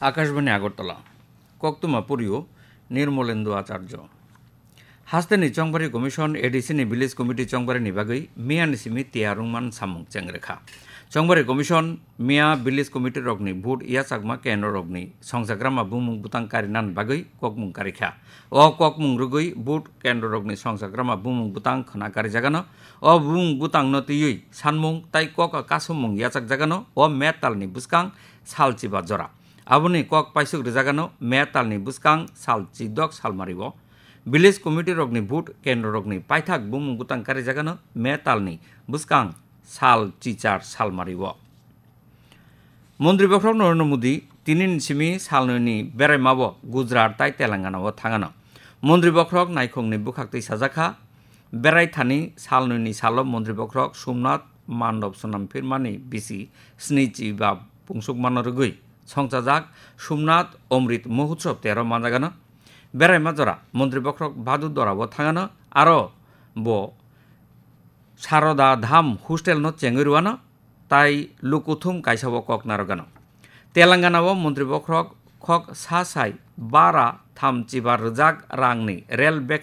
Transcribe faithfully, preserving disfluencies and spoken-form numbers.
Akashbani Agartala, Koktuma Puryo, Nirmolendu Acharjo. Hasteni Chongbari Commission, A D C ni Village Committee Chongbari ni bagwi miyani simi tiya rwngman samung chengrekha. Chongbari Commission miya Village Committee rokni vote yachakma kendro rokni songchakrama bumung butang karinan bagwi kokmung karikha. O kokmung rwgwi vote kendro rokni songchakrama bumung butang khwna karijagano. O bumung butangno twiwi sanmung tai kok kasumung yachakjagano o metalni bwskang salchiba jora. Aboni kok paisuk rwjagano metalni bwskang sal chidok salmario. Village committee rokni vote kendro rokni paithak bumung butang karijagano metalni bwskang sal chichar salmario. Montri bokhorok Narendra Modi tinini simi salnwini beraimao Gujarat tai Telangana o thangano. Montri bokhorok naikhungni bwkhak twi sajakha, berai thani salnwini salo montri bokhorok Somnath Mandop swnam phirmani bisi sni chiba pungsukmano rwgwi songchajak Somnath Omrit Mahotsav tero manjagano. Beraima jora montri bokhorok Bhadu Dora o thangano, aro bo Saroda Dham hostel no chengwi rwano tai lukuthum kaisa o kok narwgano. Telangana o montri bokhorok khok sa sai bara tham chiba rwjak rangni rel bag